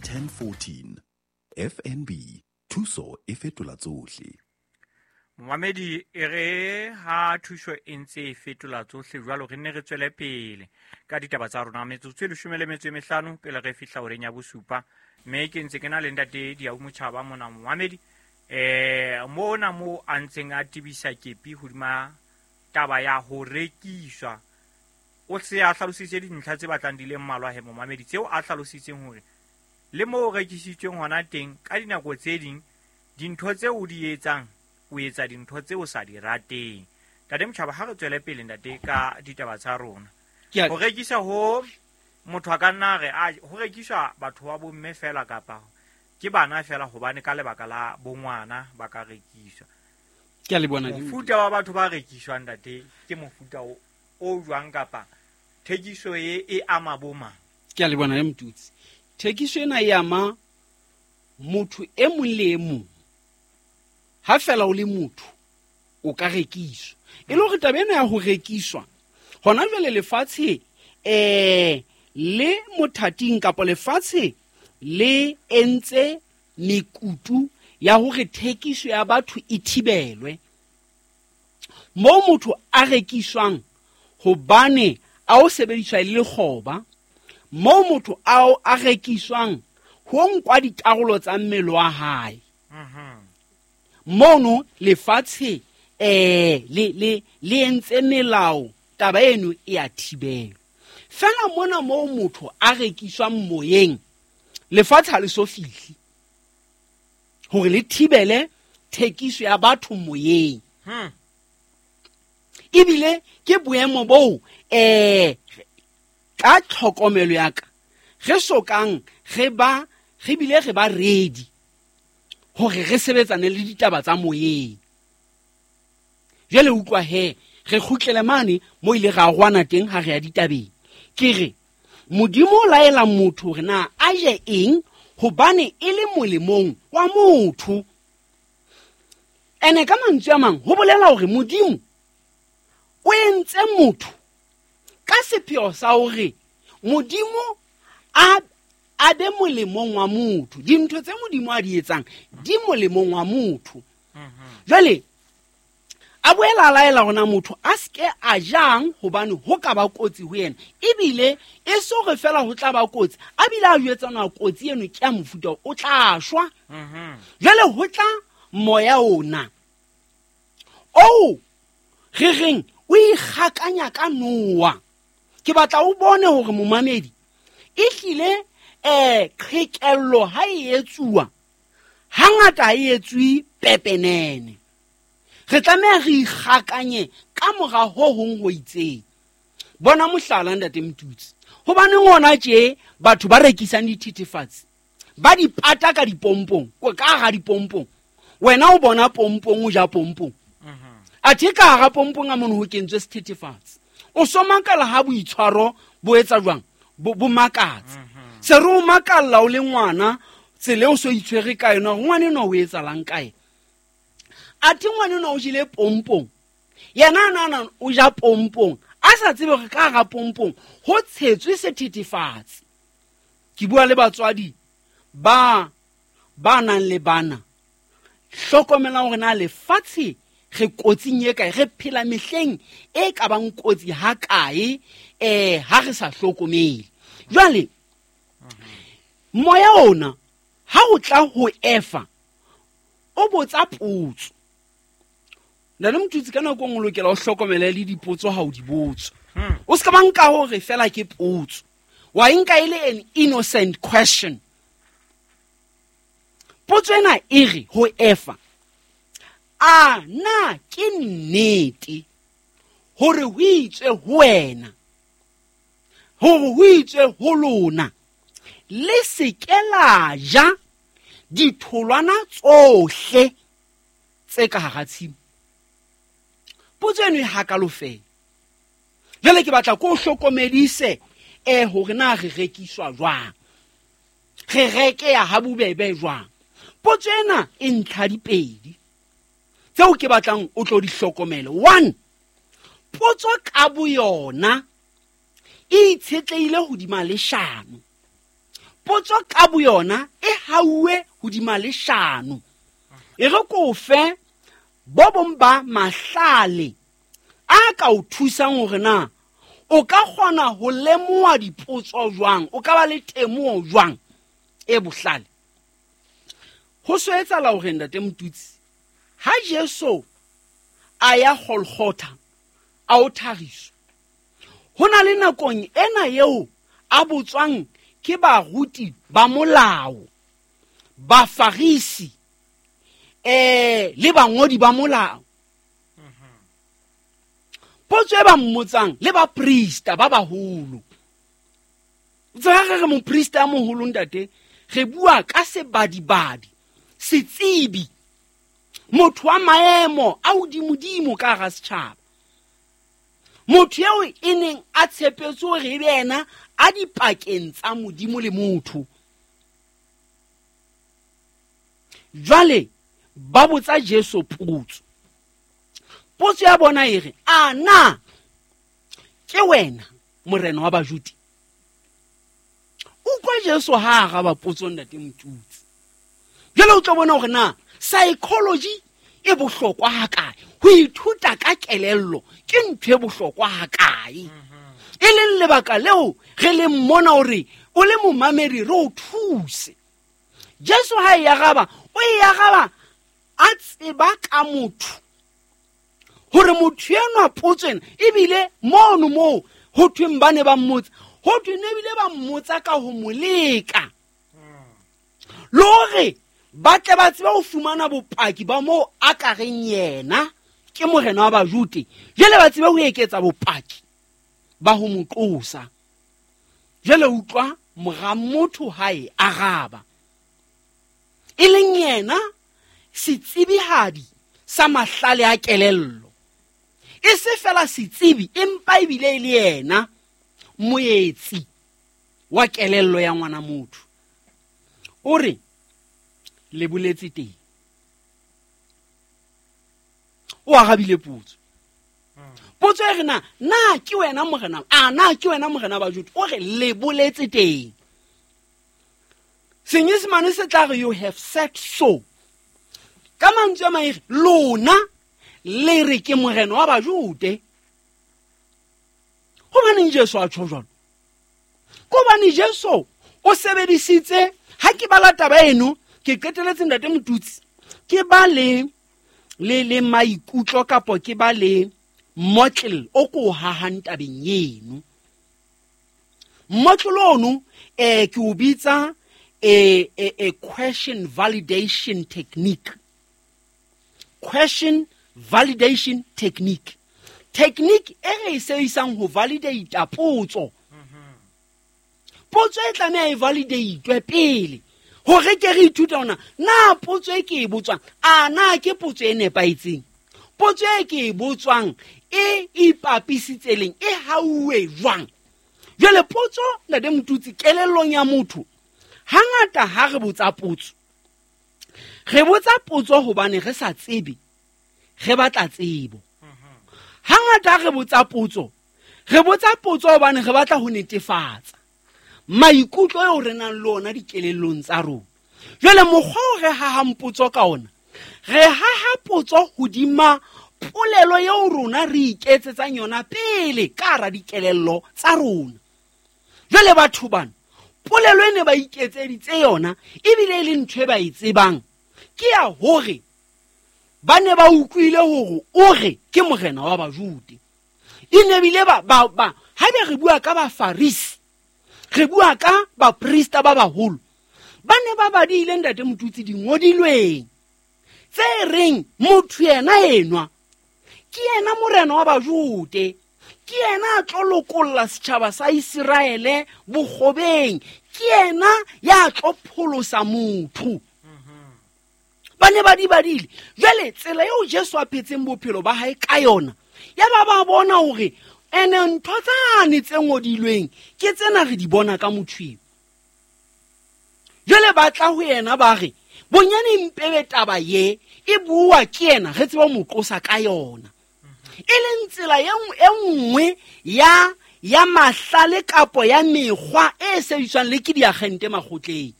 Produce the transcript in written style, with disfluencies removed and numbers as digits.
1014. FNB, thuso e fetola tsohle. Momamedi, e re ha thuso e ntse e fetola tsohle jwalo, re nne re tswele pele ka ditaba tsa rona. Metsotso e 15 pele re fihla horeng ya 7, mme ke ntse ke na le ntate Diau Motjhaba mona. Momamedi, mona mo a ntseng a tebisa kepi hodima taba ya ho rekiswa, o se a hlalositse dintlha tse batlang di le mmalwa he momamedi, tseo a hlalositseng hore le moo o rekisitsweng hona teng ka dinako tse ding dintho tseo o di etsang, o etsa dintho tseo o sa di rateng. Ntate Motjhaba, ha re tswele pele ntate ka ditaba tsa rona. Ho rekisa ho motho a ka nna re a ho rekiswa batho ba bomme fela kapa ke bana fela, hobane ka lebaka la bongwana ba ka rekiswa. Ke a le bona. Mofuta wa batho ba rekiswang ntate ke mofuta o jwang, kapa thekiso e ama bo mang? Ke a le bona le Motutsi. Thekiso ena e ama motho e mong le e mong. Ha fela o le motho, o ka rekiswa. E le hore taba ena ya ho rekiswa, hona jwale lefatshe, le mothating kapa lefatshe le entse mekutu ya hore thekiso ya batho e thibelwe. Moo motho a rekiswang hobane a o sebediswa e le lekgoba, moo motho a rekiswang ho nkwa dikarolo tsa mmele wa hae. Mono lefatshe, le entse melao, taba eno e a thibelwa. Fela mona moo motho a rekiswang moyeng, lefatshe ha le so fihle hore le thibele thekiso ya batho moyeng. Ebile ke boemo boo, ka tlhokomelo ya ka, re sokang re ba, re bile re ba ready hore re sebetsane le ditaba tsa moyeng. Jwale utlwa he, re kgutlele mane mo ile ra rwana teng ha re ya ditabeng. Ke re Modimo o laela motho hore na a je eng hobane e le molemong wa motho. Ene ka mantswe a mang ho bolela hore Modimo o entse motho ka sepheo sa hore Modimo a be molemong wa motho. Dintho tse Modimo a di etsang di molemong wa motho. Jwale a boela a laela hore na motho a seke a jang hobane ho ka ba kotsi ho yena, ebile e se hore fela ho tla ba kotsi, a bile a jwetsa na kotsi eno ke ya mofuta o tla shwa. Jwale ho tla moya ona oo re reng o ikgakanya ka noa. Ke batla o bone hore momamedi e hlile, qhekello ha e etsuwa hangata ha e etswe pepenene. Re tlameha re ikgakanye ka mora ho hong ho itseng. Bona mohlala ntate Motutsi, hobaneng hona tje batho ba rekisang dithethefatsi ba di pata ka dipompong, ka hara dipompong. Wena o bona pompong, o ja pompong. Athe ka hara pompong a mono ho kentswe sethethefatsi. O so makala ha boitshwaro bo etsa jwang? Bo makatsa. Se re o makalla o le ngwana, tsela eo o so itshwere ka yona, hore ngwana enwa o etsalang ka yena. Athe ngwana enwa o jele pompong, yena a nahana o ja pompong, a sa tsebe hore ka hara pompong ho tshetswe sethethefatsi. Ke bua le batswadi ba nang le bana, hlokomelang hore na lefatshe re kotsing e kae, re phela mehleng e ka bang kotsi ha kae, ha re sa hlokomele. Jwale moya ona ha o tla ho Efa, o botsa potso. Ntate Motutsi, ka nako e nngwe o lokela o hlokomele le dipotso ha o di botsa. O se ka ba nka hore fela ke potso, wa e nka e le an innocent question. Potso ena e re ho Efa, a na ke nnete hore ho itswe ho wena, hore ho itswe ho lona, le se ke la ja ditholwana tsohle tse ka hara tshimo? Potso eno e hakalo fela. Jwale ke batla ko o hlokomedise, hore na re rekiswa jwang, re rekeya ha bobebe jwang. Potso ena e ntlha dipedi tseo ke batlang o tlo di hlokomele. 1, potso ka boyona e itshetlehile hodima leshano. Potso ka boyona e hauwe hodima leshano. E re ko fe bo bong ba mahlale a ka o thusang hore na o ka kgona ho lemoha dipotso jwang, o ka ba le temoho jwang e bohlale. Ho so etsahala hore ntate Motutsi, ha Jesu a ya Golgotha a o thariswa, ho na le nakong ena eo a botswang ke baruti ba molao, Bafarisi, le bangodi ba molao. Potso e ba mmotsang le baprista ba baholo. Tseba re re moprista a moholo ntate, re bua ka sebadibadi, setsebi, motho wa maemo a hodimodimo ka hara setjhaba. Motho eo e neng a tshepetse hore ebe yena a dipakeng tsa Modimo le motho. Jwale ba botsa Jesu potso. Potso ya bona e re, a na ke wena morena wa Bajude? Utlwa Jesu ha a araba potso ntate Motutsi. Jwale o tlo bona hore na psychology e bohlokwa hakae, ho ithuta ka kelello ke ntho e bohlokwa hakae. E leng lebaka leo re leng mona hore o le momamedi re o thuse. Jesu ha e araba, o e araba a tseba ka motho hore motho enwa potso ena ebile mono moo ho thweng ba ne ba mmotsa, ho thwe ne ebile ba mmotsa ka ho mo leka le hore ba tle ba tsebe ho fumana bopaki ba moo a ka reng yena ke morena wa Bajude, jwale ba tsebe ho eketsa bopaki ba ho mo qosa. Jwale utlwa mora motho ha e araba, e leng yena setsebihadi sa mahlale a kelello. E se fela setsebi, empa ebile e le yena moetsi wa kelello ya ngwana motho. O re le boletse teng, o arabile potso. Potso e re na, na ke wena morena, a na ke wena morena wa Bajuda? O re le boletse teng. Senyesemane se tla re you have said so. Ka mantswe a mang e re lona le re ke morena wa Bajude. Hobaneng Jesu a tjho jwalo? Hobane Jesu o sebedisitse, ha ke bala taba eno ke qeteletse ntate Motutsi, ke ba le le le maikutlo kapo ke ba le motlel o ko hahang tabeng eno. Motlel ono ke o bitsa a question validation technique. Question validation technique. Technique e re e sebedisang ho validate potso. Potso e tlameha e validate pele hore ke re ithute hore na potso e ke e botswang, a na ke potso e nepahetseng. Potso e ke e botswang e ipapisitse leng, e hauwe jwang. Jwale potso ntate Motutsi kelellong ya motho, hangata ha re botsa potso, re botsa potso hobane re sa tsebe, re batla tsebo. Hangata re botsa potso, re botsa potso hobane re batla ho netefatsa maikutlo eo re nang le ona dikelellong tsa rona. Jwale mokgwa o re hahang potso ka ona, re haha potso hodima polelo eo rona re iketsetsang yona pele ka hara dikelello tsa rona. Jwale batho bana, polelo e ne ba iketseditse yona ebile e le ntho e ba e tsebang, ke ya hore ba ne ba utlwile hore o re ke morena wa Bajude. E ne bile ba, ba, ba, ha be re bua ka Bafarisi, re bua ka baprista ba baholo, ba ne ba badile ntate Motutsi dingodilweng tse reng motho yena enwa ke yena morena wa Bajude, ke yena a tlo lokolla setjhaba sa Iseraele bokgobeng, ke yena ya tlo pholosa motho. Ba ne ba di badile. Jwale tsela eo Jesu a phetseng bophelo ba hae ka yona, ya ba ba bona hore ene ntho tsane tse ngodilweng ke tsena re di bona ka motho eo. Jwale ba tla ho yena ba re, bonyane mpebe taba ye e bua ke yena, re tsebe ho mo qosa ka yona. E leng tsela e nngwe ya ya mahlale kapo ya mekgwa e sebediswang le ke diagente makgotleng.